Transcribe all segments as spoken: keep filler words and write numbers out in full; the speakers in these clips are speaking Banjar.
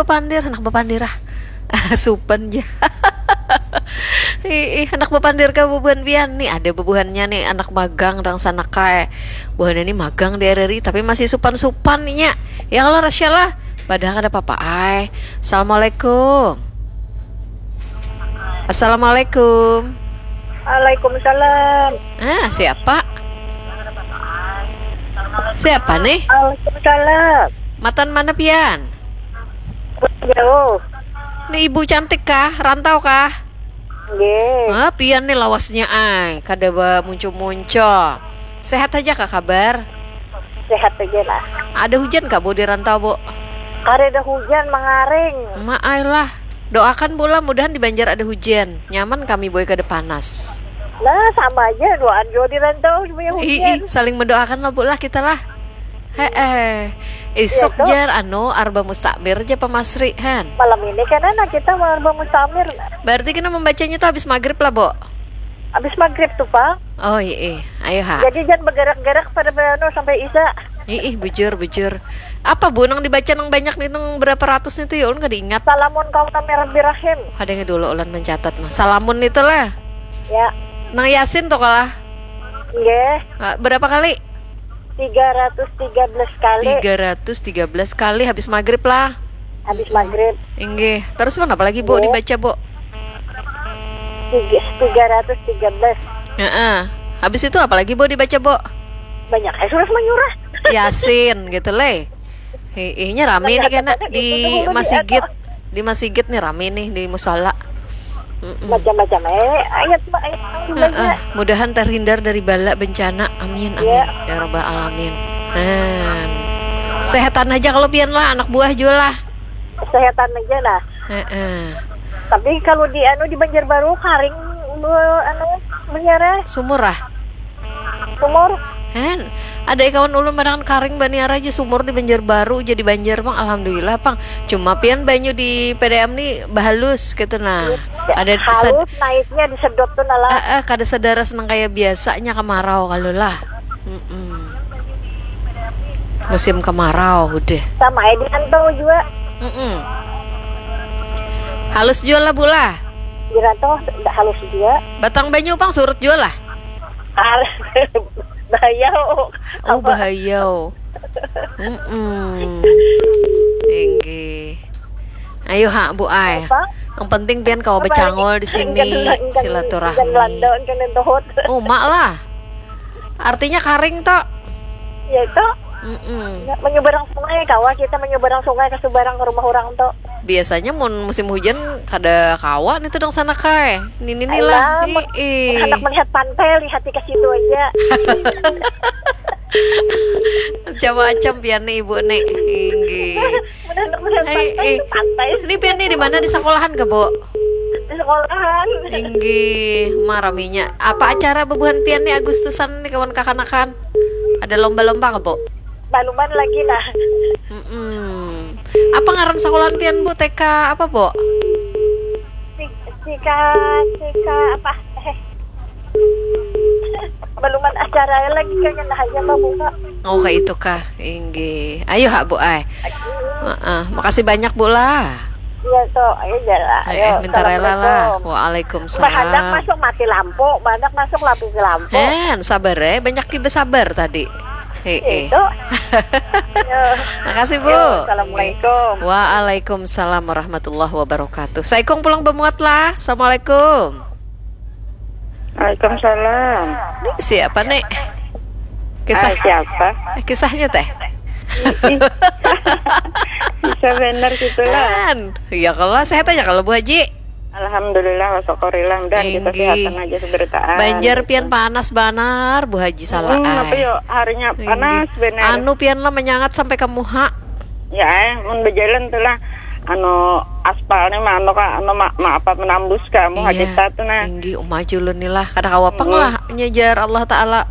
Pandir, handak bapandir ah. Supan ja. Ih, handak bapandir ka bubuhan pian nih. Ada bubuhannya nih, anak magang dangsanak ai. Buhannya nih magang di R R I tapi masih supan-supan nya. Ya Allah, Rasya lah. Padahal kada apa-apa ai. Assalamualaikum. Assalamualaikum. Waalaikumsalam. Ah, siapa? Siapa nih? Waalaikumsalam. Matan mana pian? Jauh. Nih ibu cantik kah? Rantau kah? Nggih. Ah, pian nih lawasnya ai, kada ba muncu-muncu. Sehat aja kah kabar? Sehat aja lah. Ada hujan kah, Bu, di rantau, Bu? Kada ada hujan, mangaring. Ma ai lah. Doakan, Bu lah, mudahan di Banjar ada hujan. Nyaman kami, boy, kada panas. Nah, sama aja doaan jua di rantau supaya Ih, hujan. ih, saling mendoakan lah, Bu lah, kita lah. Heeh. Isuk Iya, toh. Jar, anu, Arba Mustakmir ja pamasri, han. Malam ini kan anak kita mau Arba Mustamir. Berarti kita membacanya tuh habis maghrib lah, Bu. Habis maghrib tuh, Pak. Oh, iya, iya. Ayo, ha. Jadi jangan bergerak-gerak pada anu sampai Isya. Ih, ih, bujur, bujur. Apa, Bu, nang dibaca nang banyak nih, nang berapa ratus nih tuh, ya, ulun kada ingat. Salamun kaum kami Rabbi Rahim. Ada yang dulu ulun mencatat, nah. Salamun itu lah. Ya, Nang Yasin tuh kalah. nggih. Ah, berapa kali? Tiga ratus tiga belas kali Tiga ratus tiga belas kali habis maghrib lah. Habis maghrib. Inggih. Terus, pun apa lagi, Bu, Bu. Dibaca, Bu? Tiga, tiga ratus tiga belas. Heeh. Habis itu apa lagi, Bu, dibaca, Bu? Banyak. Eh, sudah menyurah. Yasin gitu, le. Heeh, nya rame nih Banyak kena banget di itu tuh, Bu, di masigit. atas. Di masigit nih rame nih, di musala. Mm-mm. Macam-macam. Eh, ayat, ayat Heeh, mudahan terhindar dari bala bencana. Amin, amin. Ya. Ya rabbal alamin. Han. Sehatan aja kalau pian lah, anak buah juga lah. Sehatan aja lah. Heeh. Tapi kalau di anu di Banjarbaru karing, bu, anu, menjara Sumur ah. Sumur. Han, ada kawan ulun madangan karing baniara aja sumur di Banjarbaru, jadi Banjar pang, alhamdulillah pang. Cuma pian banyu di P D M ni bahalus gitu nah. Ada sad- Halus naiknya disedot tuh nala. Eh, eh, kada sadaras nang kaya biasanya kemarau kalau lah. Mm-mm. Musim kemarau udah. Sama ya di rantau juga. Mm-mm. Halus juga lah, Bu lah. Di rantau ndak halus juga. Batang banyu pang surut juga lah. Halus. Bahaya. Oh, bahaya. Mm-mm. Tinggi. Ayo ha, Bu ai. Apa? Yang penting pian kawa Apa bacangol lagi? Di sini Ikan, ikan, silaturahmi. Ikan Belanda, ikan lentohot. Umak lah. Artinya karing toh. Ya itu. Mm-mm. Ya, menyeberang sungai kawa kita menyeberang sungai ke seberang ke rumah orang tuh. Biasanya mun musim hujan kada kawa nih tuh dong sana kai. Ini nih Ayolah, lah. mun Ih. Hendak melihat pantai, lihat ke situ aja. Macam-macam pian nih ibu nih. Tinggi. Mun hendak melihat Hai, pantai, eh. ke pantai. Ini pian nih di mana, di sekolahan ke, Bu? Di sekolahan. Inggih, maraminya. Apa acara bebuhan pian nih Agustusan nih kawan kakanakan? Ada lomba-lomba ke, Bu? Baluman lagi lah. Mm-mm. Apa ngaran sekolahan pian, Bu? T K apa, Bu? Sika, sika apa? Eh. Baluman acara lagi kayaknya nah aja mah buka. Oh, kayak itu kah? Inggih. Ayo ha, Bu ai. Heeh, makasih banyak, Bu lah. Iya toh, ayo jalan. Eh, Ayo, eh, minta rela lah. Assalamualaikum. Bahandak Waalaikumsalam. Masuk mati lampu, bahandak masuk mati lampu. Hen, sabar eh, banyak ki besabar tadi. Heeh. Itu. Yo. Makasih, Bu. Yo, assalamualaikum. Waalaikumsalam warahmatullahi wabarakatuh. Saikung pulang bemuat lah. Assalamualaikum. Waalaikumsalam. Siapa nih? Kisah Ah, siapa? Eh, kisahnya teh. Bisa benar gitulah. Kan. Iya kalau sehat aja kalau Bu Haji. Alhamdulillah, wasyukurillah. Dan kita Tinggi. Sehatan aja seberitaan. Banjar pian panas banar Bu Haji salah. Hmm, apa Ai. yo, harinya Tinggi. Panas benar. Anu pian lah menyangat sampai ke muha. Ya, eh, mun berjalan tuh lah, anu aspalnya mah anu kak, anu ma, ma apa menambus kamu Iya. Hadita tuh nah. Tinggi umah julun nih lah. Kada kawa pang Hmm. lah nyejar Allah Ta'ala.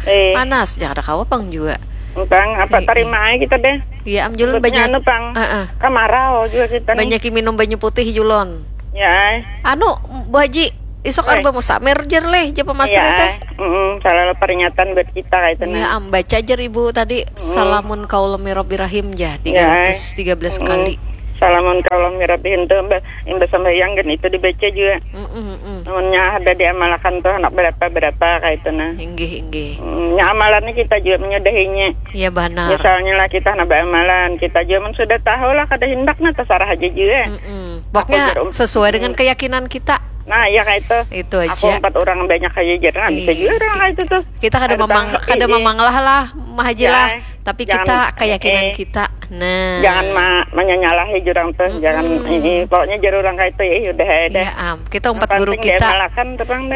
Eh. Panas ya kada kawa pang juga. Entang apa Eh, terima aja kita deh. Iya am julun Sebutnya banyak. Anu pang. Heeh. Kamarau juga kita nih. Banyak minum banyu putih julun. Ya, eh. Anu Bu Haji, isuk Eh. Arba Mustamir jer leh japa masri Iya, teh. Mm-mm, salah peringatan buat kita kayak itu Iya nah. Am, baca jer Ibu tadi salamun kaulami Rabbi Rahim ja tiga ratus tiga belas Mm-mm. kali. Salamun kalau mirabihin tu imbah sambahyang kan itu dibaca juga. Mm-mm-mm. Namunnya ada diamalakan tu anak berapa-berapa kayak itu nah. Inggih, inggih. Mm, nya amalannya kita juga menyudahinya. Iya banar. Misalnya lah kita nak beramalan, kita juga men sudah tahu lah kada hendak nah terserah aja juga. Mm-mm. Pokoknya sesuai dengan keyakinan kita. Nah, iya kayak itu. Itu aja. Aku empat orang banyak aja jadi nah, bisa juga orang kayak itu tuh. Kita kada memang kada memanglah lah, Mah Haji lah. Tapi kita keyakinan kita. Nah. Jangan ma menyalahi jurang tuh, jangan ini pokoknya jar orang kayak itu ya udah ada. Iya, am. Kita umpat guru kita.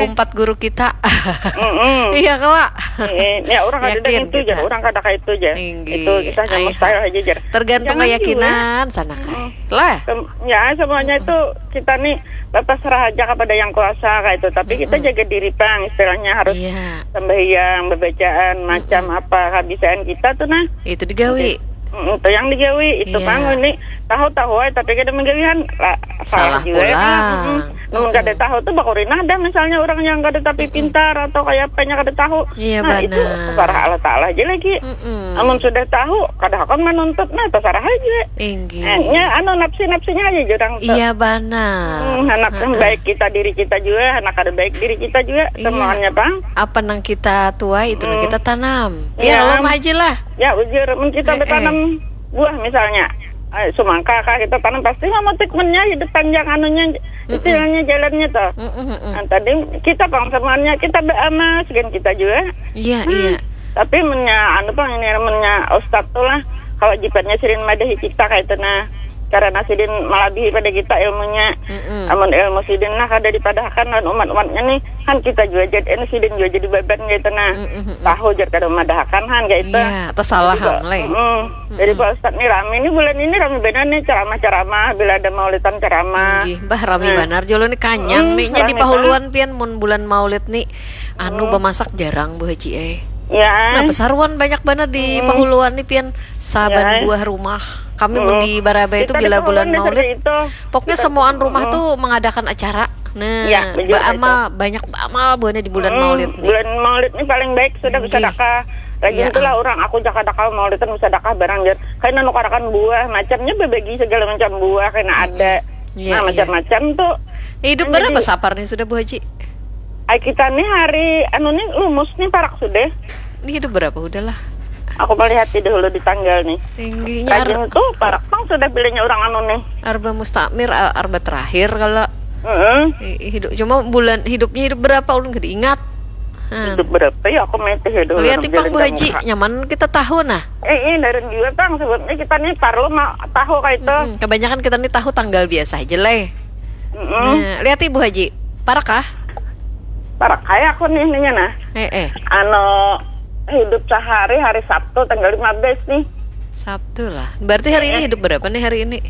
Umpat guru kita. Iya kala. Ya orang ada itu jar, orang kada kayak itu jar. Itu kisahnya mustahil aja jar. Tergantung keyakinan sana kai. Lah. Ya semuanya itu kita nih lepas serah aja kepada yang kuasa kayak itu. Tapi kita jaga diri pang istilahnya harus sembahyang, bebacaan, macam apa kebiasaan kita tuh nah. Itu digawi. Mm, itu yang digawi itu pang ini tahu-tahu aja tapi kada menggawihan lah, salah juga pulang. Namun kada tahu tuh bakurinah ada misalnya orang yang kada tapi pintar atau kayak apanya kada tahu. Iya, nah itu parah Allah Taala aja lagi. Namun sudah tahu kada akan menuntut nah terserah aja. Inggih. Eh, nya anu nafsi-nafsinya aja jurang tuh. Iya banar. Hmm, anak yang baik kita diri kita juga, anak kada baik diri kita juga semuanya pang. Apa nang kita tuai itu nang kita tanam. Ya kalau mah aja lah. Ya ujur men kita bertanam buah misalnya. Eh, semangka kah kita tanam pasti memetik mennya hidup panjang anunya istilahnya jalannya tuh. Nah, tadi kita pang semuanya kita beramal segan kita juga. Iya, iya. Tapi mennya anu pang ini mennya ustad tuh lah kewajibannya sidin madahi kita kayak itu nah karena sidin melebihi pada kita ilmunya. Amun ilmu sidin lah kada dipadahakan dan umat-umatnya nih kan kita juga jadi ini sidin juga jadi beban kayak itu nah tahu jar kada memadahakan kan kayak itu. Iya, tersalah mulai. Jadi Pak Ustadz nih rame nih bulan ini rame benar nih ceramah-ceramah bila ada maulidan ceramah. Inggih, bah rame banar jolo nih kanyang nih nya di Pahuluan pian mun bulan maulid nih anu bemasak jarang Bu Haji eh. Ya. Nah, pesaruan banyak banar di Pahuluan nih pian saban buah rumah. Kami mun di Barabai itu bila bulan maulid, pokoknya semuaan rumah tuh mengadakan acara. Nah, baamal banyak baamal buahnya di bulan maulid nih. Bulan maulid nih paling baik sudah bersedekah. Lagi itulah orang aku jaka dakal maulidan bersedekah barang jar. Kayak nukarakan buah macamnya berbagi segala macam buah kena ada. Nah, macam-macam tuh. Hidup berapa sapar nih sudah Bu Haji? Ay, kita nih hari anu nih lumus nih parak sudah. Ini hidup berapa udah lah. Aku melihat dahulu di tanggal nih. Tingginya rajin tuh parak pang sudah bilanya orang anu nih. Arba mustamir, arba terakhir kalau hidup cuma bulan hidupnya hidup berapa ulun gak diingat. Hidup berapa ya aku mete ya dulu. Lihat pang Bu Haji, nyaman kita tahu nah. Eh, eh, dari juga pang sebabnya kita nih parlo tahu kayak itu. Kebanyakan kita nih tahu tanggal biasa aja lah. Nah, lihat Bu Haji, parak kah? Parak kayak aku nih ininya nah. Eh, eh. Anu hidup sehari hari Sabtu tanggal lima belas nih. Sabtu lah. Berarti hari ini hidup berapa nih hari ini?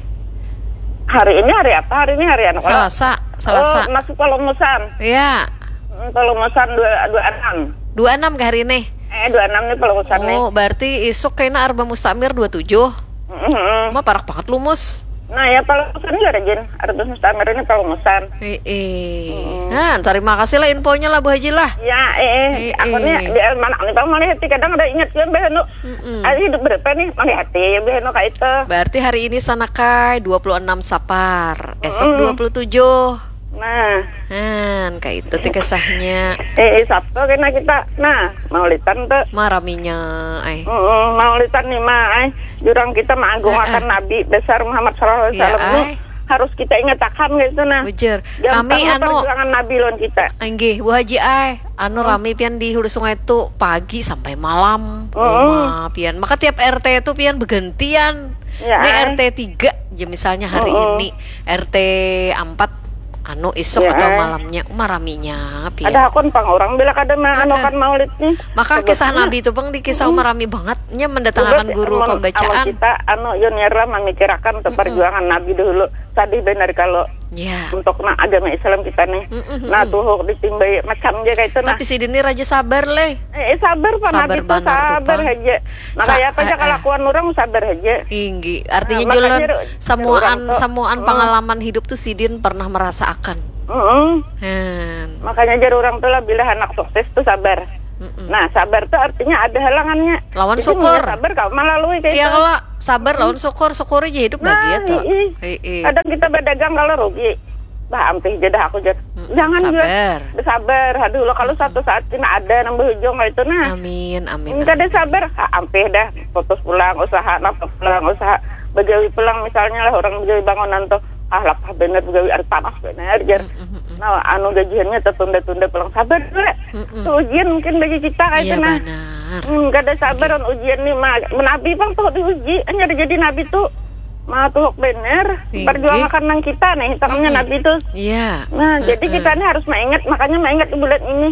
Hari ini hari apa? Hari ini hari anu. Selasa, Selasa. Oh, masuk Palungusan. Iya. Hmm, Palungusan dua dua enam. Dua enam ke hari ini? Eh, dua enam nih Palungusan nih. Oh, berarti isuk kayaknya Arba Mustamir dua tujuh. Mm-mm. Ma parak banget lumus. Nah ya Palungusan ya rajin. Arba Mustamir ini Palungusan. Heeh. Nah, terima kasih lah infonya lah Bu Haji lah. Ya, eh, eh. Aku nih di mana nih Bang Malihat kadang ada ingat juga Mbah Anu. Mm-mm. Ada hidup berapa nih? Malihat ya Mbah Anu kayak itu. Berarti hari ini sanakai dua puluh enam Sapar, esok dua puluh tujuh. Nah. Han, kayak itu tuh kisahnya. Eh, eh, Sabtu kena kita. Nah, maulitan tuh. Maraminya, ay. Mm-mm, maulitan nih mah, ay. Jurang kita mengagungakan Nabi besar Muhammad sallallahu alaihi wasallam tuh harus kita ingat akan gitu nah. Bujur. Kami anu perjuangan Nabi lawan kita. Inggih, Bu Haji ay, anu rami pian di Hulu Sungai itu pagi sampai malam. Rumah pian. Maka tiap R T itu pian bergantian. Ya, ini R T tiga ya misalnya hari ini R T empat anu isuk atau malamnya maraminya pian. Ada hakun pang orang bila kada menganukan maulid nih. Maka kisah Nabi itu bang di kisah marami banget. Nya mendatangkan guru pembacaan. Kita anu Yunira memikirakan tuh perjuangan Nabi dulu. Sadih benar kalau untuk nah agama Islam kita nih. Nah tuh ditimbai macam aja kayak itu nah. Tapi sidin ini raja sabar leh. Eh, eh, sabar pak Nabi tuh sabar aja. Nah kayak apa aja kelakuan orang sabar aja. Inggi. Artinya nah, julun samuaan samuaan pengalaman hidup tuh sidin pernah merasa akan. Makanya jar orang tuh lah bila anak sukses tuh sabar. Nah sabar tuh artinya ada halangannya. Lawan syukur. Sabar kalau melalui kayak iya, itu. Kalau Sabar lawan syukur, syukuri ja hidup Nah, bahagia tuh. Ii. Ii. Kadang kita berdagang kalau rugi, bah ampih ja dah aku jar. Mm-mm, Jangan jar. sabar. Bersabar. Aduh lo kalau suatu saat kena ada nang berujung kayak itu nah. Amin, amin. Kada amin. Sabar, ah, ampih dah, putus pulang usaha, napa pulang usaha, begawi pulang misalnya lah orang begawi bangunan tuh, ah lapah bener begawi ada panas bener jar. Mm-mm. Nah, anu gajiannya tertunda-tunda pulang, sabar dulu. Mm-mm. Tuh ujian mungkin bagi kita kayak Iya itu nah. Benar. Hmm, kada sabar on ujian nih mah. Menabi pang tuh diuji, hanya jadi nabi tuh mah tuh bener. Tinggi. Perjuangan nang kita nih, hitamnya Mm-mm. nabi tuh. Iya. Nah, jadi Mm-mm. kita nih harus maingat, makanya maingat di bulan ini.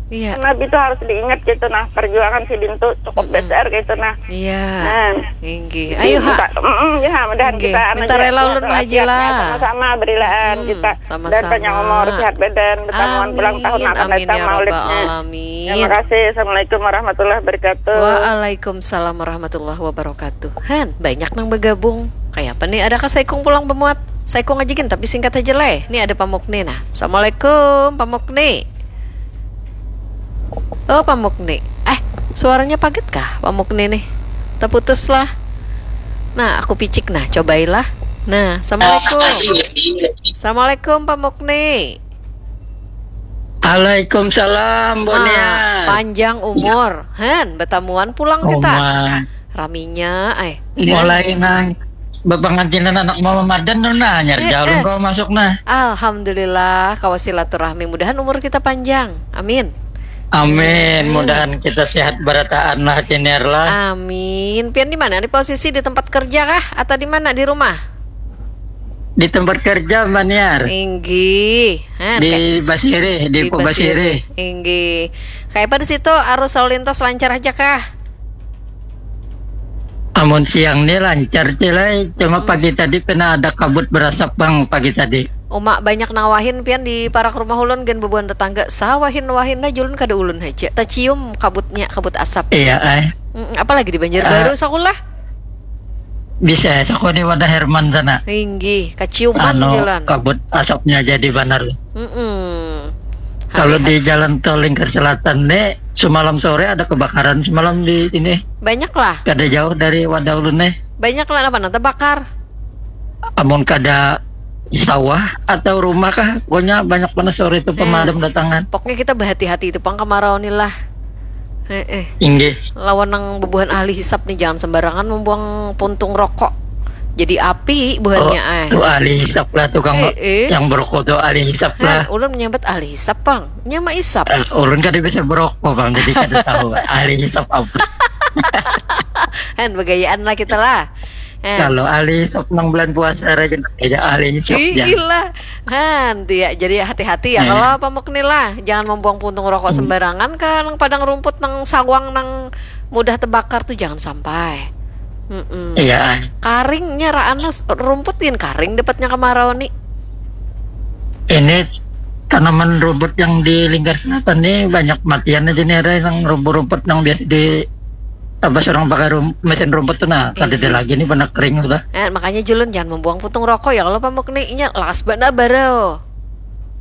Iya. Nabi tuh harus diingat gitu nah, perjuangan sidin tuh cukup Mm-mm. besar gitu nah. Iya. Nah. Inggih. Jadi Ayo ha. minta, mm, ya, mudahan Inggih. Kita anu Minta ja, rela kuat ulun walafiatnya, Haji lah. Sama-sama berilaan Hmm, kita. sama-sama. Dan panjang umur, sehat badan, bertamuan Amin. ulang tahun akan Amin datang ya rabbal maulidnya. Alamin. Terima kasih. Assalamualaikum warahmatullahi wabarakatuh. Waalaikumsalam warahmatullahi wabarakatuh. Han, banyak nang bergabung. Kayak apa nih? Adakah saikung pulang bemuat? Saikung aja gin, tapi singkat aja leh. Nih ada Pamukni nah. Assalamualaikum Pamukni. Oh Pamukni. Eh, suaranya paget kah Pamukni nih? Terputus lah. Nah, aku picik nah, cobailah. Nah, assalamualaikum. Assalamualaikum Pamukni. Waalaikumsalam, Bonian. Panjang umur. Han, betamuan pulang kita. Raminya, eh. Mulai nang bepangajinan anak mama madan tu nah, nyar eh, jalung eh. Kau masuk nah. Alhamdulillah, kawa silaturahmi. Mudahan umur kita panjang. Amin. Amin. Hmm. Mudahan kita sehat berataan lah, Ciniar lah. Amin. Pian di mana? Di posisi di tempat kerja kah? Atau di mana? Di rumah? Di tempat kerja, Mbak Niar. Inggih. Nah, di Basiri, di, di Basiri. Inggih. Kayak apa di situ? Arus lalu lintas lancar aja kah? Amun siang ni lancar cilai, cuma hmm. Pagi tadi pernah ada kabut berasap bang pagi tadi. Uma banyak nawahin pian di parak rumah ulun gen bebuan tetangga sawahin wahin nah julun kada ulun haja tacium kabutnya kabut asap. Iya ay. Mm, apalagi di Banjarbaru uh, sakulah. Bisa saku di wadah Herman sana. Inggih, kaciuman anu, jalan. Kabut asapnya jadi banar. Mm -mm. Kalau di jalan tol Lingkar Selatan nih, semalam sore ada kebakaran semalam di sini. Banyak lah. Kada jauh dari wadah ulun nih. Banyak lah, apa nanti bakar? Amun kada sawah atau rumah kah, pokoknya banyak panas sore itu pemadam eh, datangan. Pokoknya kita berhati-hati itu pang kemarau nih lah. Eh, eh. Inggih. Lawan nang bebuhan ahli hisap nih, jangan sembarangan membuang puntung rokok. Jadi api buhannya oh, eh. Tuh ahli hisap lah tukang eh, eh. Yang berokok tuh ahli hisap lah. Ulun menyambat ahli hisap pang. Nyama isap. Uh, ulun kada bisa berokok bang, jadi kada tahu ahli hisap apa. Han, begayaan lah kita lah. Han. Kalau ahli hisap nang bulan puasa raja aja ahli hisap. Iyalah. Han, ya, jadi hati-hati ya. Kalau apa mukni lah, jangan membuang puntung rokok hmm. Sembarangan kan, nang padang rumput, nang sawang, nang mudah terbakar tuh jangan sampai. Mm -mm. Iya. Karingnya raan rumput gin karing dapatnya kemarau nih. Ini tanaman rumput yang di Lingkar Selatan nih banyak matian aja nih, ada yang rumput-rumput yang biasa di apa seorang pakai rum, mesin rumput tuh nah, kada ada lagi nih, benar kering sudah. Eh, makanya julun jangan membuang putung rokok ya kalau pamuk nih, inya las bana barau.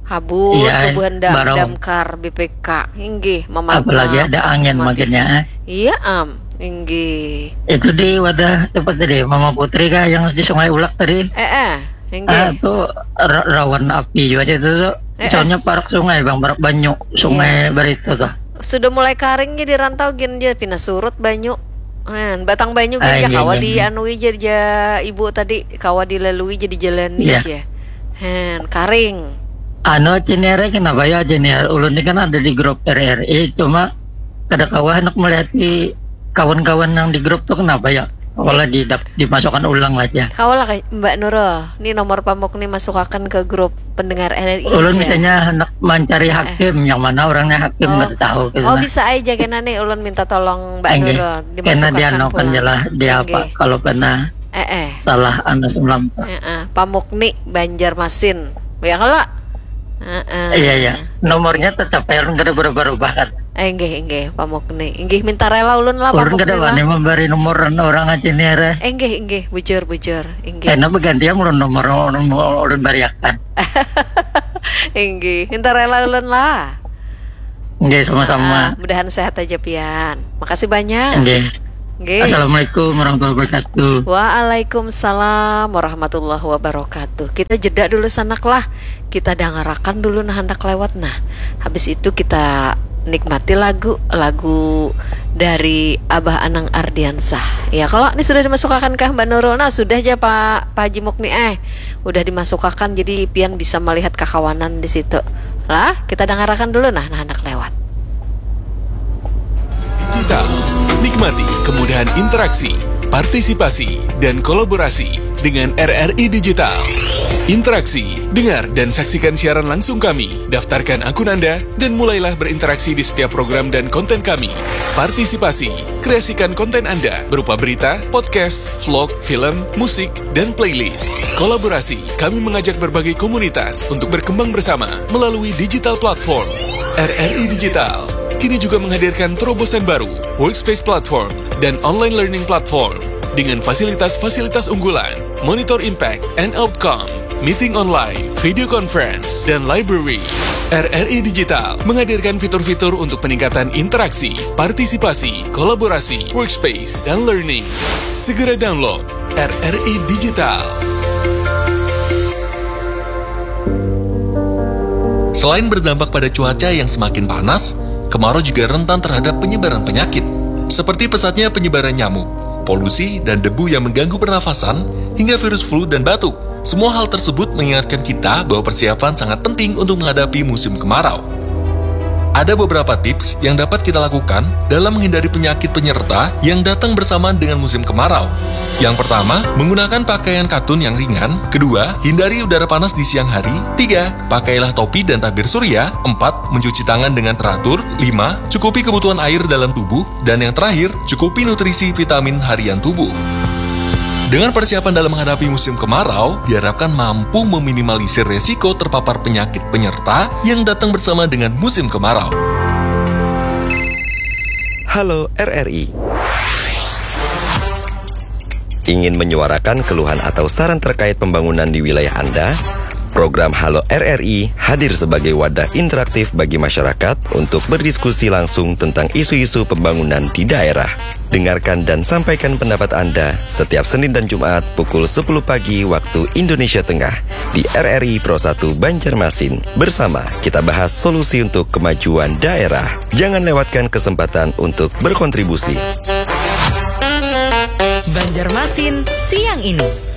Habut iya, tubuhan dam, damkar B P K. Inggih, memagang. Apalagi ada angin makinnya. Eh. Iya, am. Inggih. Itu di wadah tempat tadi Mama Putri kah yang di Sungai Ulak tadi? Eh, eh. Inggih. Ah, itu rawan api juga itu tuh. Eh, soalnya eh. Parak sungai bang, parak banyu, sungai iya. Barito tuh. Sudah mulai karing di rantau gin dia pina surut banyu. Nah, batang banyu gin ah, kawa di anu ija ja ibu tadi kawa dilalui jadi jalan iya. Ija. Han, karing. Anu Cinere kenapa ya Cinere? Ulun ini kan ada di grup R R I, cuma kada kawa hendak melihat di kawan-kawan yang di grup tuh kenapa ya? Kepala eh. Di dimasukkan ulang lah ya. Kau lah Mbak Nurul, ini nomor pamuk nih masukkan ke grup pendengar R R I. Ulun misalnya hendak mencari eh. Hakim, yang mana orangnya hakim oh. Nggak tahu. Gitu oh nah. Bisa aja kena nih, ulun minta tolong Mbak Nurul dimasukkan pulang. Kena dia jelas dia apa kalau pernah eh, eh. Salah anu semalam. Eh, eh. Pamuk nih Banjarmasin, ya kalau. Eh, eh. Iya iya. Nomornya tetap ya, kada berubah-ubah kan. Enggih, enggih, pamuk nih. Enggih, minta rela ulun lah, pamuk nih lah. Ulun kada wani memberi nomor orang aja nih, re. Enggih, enggih, bujur, bujur. Enggih. Karena bergantian ulun nomor ulun bariakan. Enggih, minta rela ulun lah. Enggih, sama-sama. Ah, mudahan sehat aja pian. Makasih banyak. Enggih. Nggih. Assalamualaikum warahmatullahi wabarakatuh. Waalaikumsalam warahmatullahi wabarakatuh. Kita jeda dulu sanak lah. Kita dangarakan dulu nah handak lewat nah. Habis itu kita nikmati lagu lagu dari Abah Anang Ardiansah. Ya kalau ini sudah dimasukakan kah Mbak Nurul? Nah sudah aja Pak Pak Haji Mukni eh udah dimasukakan jadi pian bisa melihat kakawanan di situ. Lah kita dangarakan dulu nah nah handak lewat. Digital. Nikmati kemudahan interaksi, partisipasi, dan kolaborasi dengan R R I Digital. Interaksi, dengar dan saksikan siaran langsung kami. Daftarkan akun Anda dan mulailah berinteraksi di setiap program dan konten kami. Partisipasi, kreasikan konten Anda berupa berita, podcast, vlog, film, musik, dan playlist. Kolaborasi, kami mengajak berbagai komunitas untuk berkembang bersama melalui digital platform. R R I Digital kini juga menghadirkan terobosan baru, workspace platform, dan online learning platform dengan fasilitas-fasilitas unggulan, monitor impact and outcome, meeting online, video conference, dan library. R R I Digital menghadirkan fitur-fitur untuk peningkatan interaksi, partisipasi, kolaborasi, workspace, dan learning. Segera download R R I Digital. Selain berdampak pada cuaca yang semakin panas, kemarau juga rentan terhadap penyebaran penyakit. Seperti pesatnya penyebaran nyamuk, polusi, dan debu yang mengganggu pernafasan, hingga virus flu dan batuk. Semua hal tersebut mengingatkan kita bahwa persiapan sangat penting untuk menghadapi musim kemarau. Ada beberapa tips yang dapat kita lakukan dalam menghindari penyakit penyerta yang datang bersamaan dengan musim kemarau. Yang pertama, menggunakan pakaian katun yang ringan. Kedua, hindari udara panas di siang hari. Tiga, pakailah topi dan tabir surya. Empat, mencuci tangan dengan teratur. Lima, cukupi kebutuhan air dalam tubuh. Dan yang terakhir, cukupi nutrisi vitamin harian tubuh. Dengan persiapan dalam menghadapi musim kemarau, diharapkan mampu meminimalisir resiko terpapar penyakit penyerta yang datang bersama dengan musim kemarau. Halo R R I. Ingin menyuarakan keluhan atau saran terkait pembangunan di wilayah Anda? Program Halo R R I hadir sebagai wadah interaktif bagi masyarakat untuk berdiskusi langsung tentang isu-isu pembangunan di daerah. Dengarkan dan sampaikan pendapat Anda setiap Senin dan Jumat pukul sepuluh pagi waktu Indonesia Tengah di R R I Pro satu Banjarmasin. Bersama kita bahas solusi untuk kemajuan daerah. Jangan lewatkan kesempatan untuk berkontribusi. Banjarmasin siang ini.